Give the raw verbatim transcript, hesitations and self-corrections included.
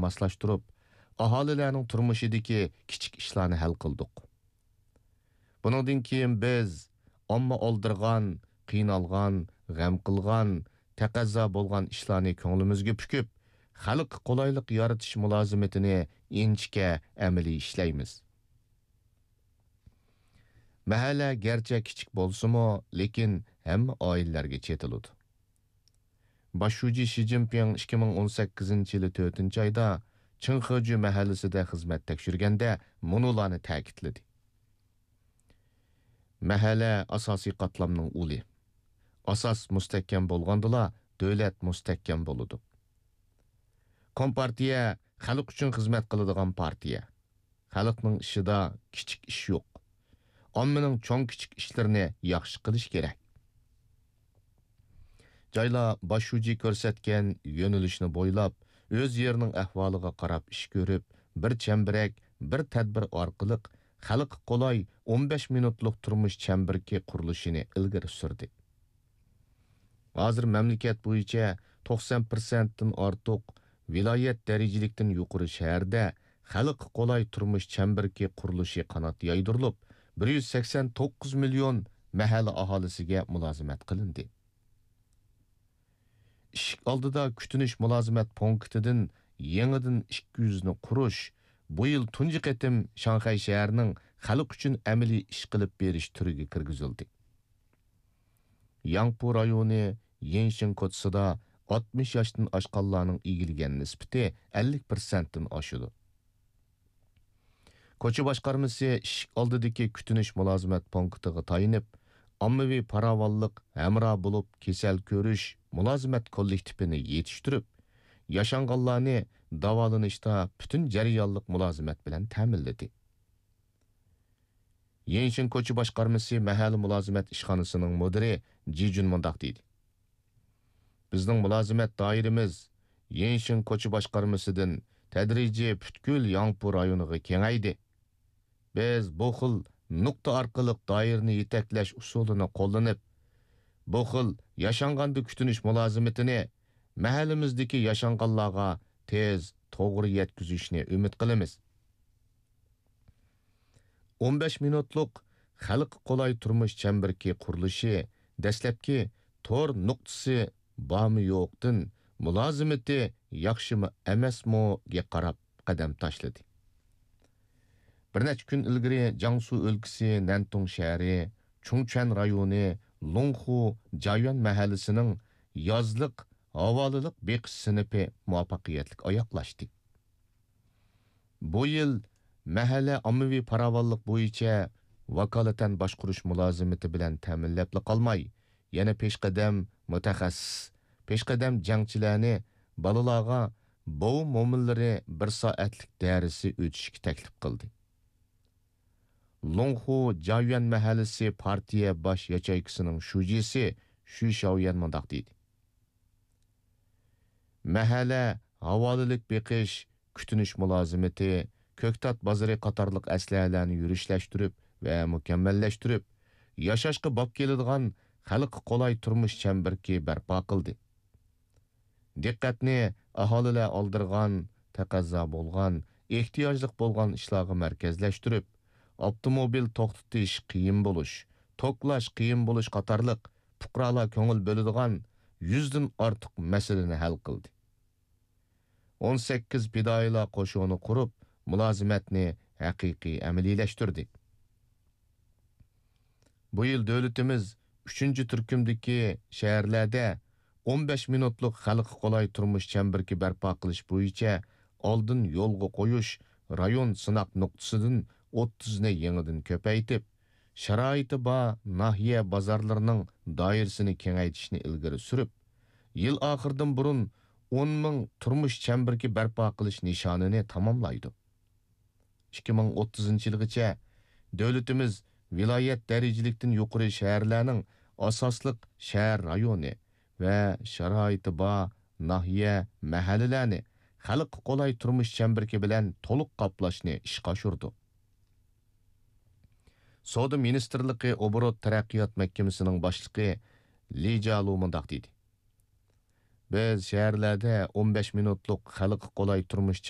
ماسلاشتۇرۇپ، ئاھالىلەرنىڭ تۇرمۇشىدىكى كىچىك ئىشلارنى ھەل قىلدۇق. بۇنىڭدىن كېيىن بىز ئامما ئالدىرىغان، قىينالغان، غەم قىلغان، تەقەززا بولغان ئىشلارنى كۆڭلىمىزگە پۈكۈپ، خەلققە قولايلىق يارىتىش مۇلازىمىتىنى ئىنچىكە ئەمەلىي ئىشلەيمىز. مەھەللە گەرچە كىچىك بولسىمۇ، لېكىن ھەممە ئائىلىلەرگە چېتىلىدۇ. باش شۇجى شى جىنپىڭ ئىككى مىڭ ئون سەككىزىنچى يىلى تۆتىنچى ئايدا چىڭخېجۈ مەھەللىسىدە خىزمەت تەكشۈرگەندە مۇنۇلارنى تەكىتلىدى: مەھەللە ئاساسىي قاتلامنىڭ ئۇلى. ئاساس مۇستەھكەم بولغاندىلا، دۆلەت مۇستەھكەم بولىدۇ. كومپارتىيە خەلق ئۈچۈن خىزمەت قىلىدىغان پارتىيە. خەلقنىڭ ئىشىدا كىچىك ئىش يوق. ئاممىنىڭ چوڭ-كىچىك ئىشلىرىنى ياخشى قىلىش كېرەك. جايلار باش شۇجى كۆرسەتكەن يۆنىلىشنى بويلاپ، ئۆز يېرىنىڭ ئەھۋالىغا قاراپ ئىش كۆرۈپ، بىر چەمبىرەك، بىر تەدبىر ئارقىلىق خەلققە قولاي ئون بەش مىنۇتلۇق تۇرمۇش چەمبىرىكى قۇرۇلۇشىنى ئىلگىرى سۈردى. ھازىر مەملىكەت بويىچە توقسان پىرسەنتتىن ئارتۇق، ۋىلايەت دەرىجىلىكتىن يۇقىرى شەھەردە خەلققە قولاي تۇرمۇش چەمبىرىكى قۇرۇلۇشى قانات يايدۇرۇلۇپ، بىر يۈز سەكسەن توققۇز مىليون مەھەللە ئاھالىسىگە مۇلازىمەت قىلىندى. ئىشىك ئالدىدا كۈتۈنۈش مۇلازىمەت پونكىتىدىن يېڭىدىن ئىككى يۈزنى قۇرۇش بۇ يىل تۇنجى قېتىم شاڭخەي شەھىرىنىڭ خەلق ئۈچۈن ئەمەلىي ئىش قىلىپ بېرىش تۈرىگە كىرگۈزۈلدى. ياڭپۇ رايونى يىنشىڭ كوچىسىدا ئاتمىش ياشتىن ئاشقانلارنىڭ ئىگىلىگەن نىسبىتى ئەللىك پىرسەنتتىن ئاشىدۇ. كوچا باشقارمىسى ئىشىك ئالدىدىكى كۈتۈنۈش مۇلازىمەت پونكىتىغا تايىنىپ، ئاممىۋى پاراۋانلىق ھەمراھ بولۇپ كېسەل كۆرۈش مۇلازىمەت كوللېكتىپىنى يېتىشتۈرۈپ، ياشانغانلارنى داۋالىنىشتا پۈتۈن جەريانلىق مۇلازىمەت بىلەن تەمىنلىدى. يەنشىن كوچا باشقارمىسى مەھەللە مۇلازىمەت ئىشخانىسىنىڭ مۇدىرى جى جۈن مۇنداق دېدى: بىزنىڭ مۇلازىمەت دائىرىمىز يەنشىن كوچا باشقارمىسىدىن تەدرىجىي پۈتكۈل ياڭپۇ رايونىغا كېڭەيدى. بىز بۇ خىل نۇقتا ئارقىلىق دائىرىنى يېتەكلەش ئۇسۇلىنى قوللىنىپ، بۇ خىل ياشانغاندا كۈتۈنۈش مۇلازىمىتىنى مەھەللىمىزدىكى ياشانغانلارغا تېز، توغرا يەتكۈزۈشنى ئۈمىد قىلىمىز. ئون بەش مىنۇتلۇق خەلققە قولاي تۇرمۇش چەمبىرىكى قۇرۇلۇشى دەسلەپكى تور نۇقتىسى بارمۇ يوقتىن، مۇلازىمىتى ياخشىمۇ ئەمەسمۇگە قاراپ قەدەم تاشلىدى. بىر نەچچە كۈن ئىلگىرى جياڭسۇ ئۆلكىسى نەنتۇڭ شەھىرى چۇڭچۈەن رايونى لۇڭخۇ جايۈەن مەھەللىسىنىڭ يازلىق ھاۋالىلىق بېقىش سىنىپى مۇۋەپپەقىيەتلىك ئاياغلاشتى. بۇ يىل مەھەللە ئاممىۋى پاراۋانلىق بويىچە ۋاكالىتەن باشقۇرۇش مۇلازىمىتى بىلەن تەمىنلەپلا قالماي، يەنە پېشقەدەم مۇتەخەسسىس، پېشقەدەم جەڭچىلەرنى بالىلارغا بوۋا مومىنلىرى بىر سائەتلىك دەرسى ئۆتۈشكە تەكلىپ قىلدى. لۇڭخۇ جايۈەن مەھەللىسى پارتىيە باش ياچېيكىسىنىڭ شۇجىسى شۈي شاۋيەن مۇنداق دېدى: مەھەللە ھاۋالىلىك بېقىش، كۈتۈنۈش مۇلازىمىتى، كۆكتات بازىرى قاتارلىق ئەسلىھەلەرنى يۈرۈشلەشتۈرۈپ ۋە مۇكەممەللەشتۈرۈپ، ياشاشقا باب كېلىدىغان خەلققە قولاي تۇرمۇش چەمبىرىكى بەرپا قىلدى. دىققەتنى ئاھالىلەر ئالدىرىغان، تەقەززا بولغان، ئېھتىياجلىق بولغان ئىشلارغا مەركەزلەشتۈرۈپ، ئاپتوموبىل توختىتىش قىيىن بولۇش، توكلاش قىيىن بولۇش قاتارلىق پۇقرالار كۆڭۈل بۆلىدىغان يۈزدىن ئارتۇق مەسىلىنى ھەل قىلدى. ئون سەككىز پىدائىيلار قوشۇنى قۇرۇپ، مۇلازىمەتنى ھەقىقىي ئەمەلىيلەشتۈردى. بۇ يىل دۆلىتىمىز ئۈچىنچى تۈركۈمدىكى شەھەرلەردە ئون بەش مىنۇتلۇق خەلققە قولاي تۇرمۇش چەمبىرىكى بەرپا قىلىش بويىچە ئالدىن يولغا قويۇش رايون سىناق نۇقتىسىدىن ئوتتۇزنى يېڭىدىن كۆپەيتىپ، شارائىتى بار ناھىيە بازارلىرىنىڭ دائىرىسىنى كېڭەيتىشنى ئىلگىرى سۈرۈپ، يىل ئاخىرىدىن بۇرۇن ئون مىڭ تۇرمۇش چەمبىرىكى بەرپا قىلىش نىشانىنى تاماملايدۇ. ئىككى مىڭ ئوتتۇزىنچى يىلغىچە دۆلىتىمىز ۋىلايەت دەرىجىلىكتىن يۇقىرى شەھەرلەرنىڭ ئاساسلىق شەھەر رايونى ۋە شارائىتى بار ناھىيە، مەھەللىلەرنى خەلققە قولاي تۇرمۇش چەمبىرىكى بىلەن تولۇق قاپلاشنى ئىشقا ئاشۇرىدۇ. سودا مىنىستىرلىقى ئوبوروت تەرەققىيات مەھكىمىسىنىڭ باشلىقى لى جيالۇ مۇنداق دېدى: بىز شەھەرلەردە ئون بەش مىنۇتلۇق خەلققە قولاي تۇرمۇش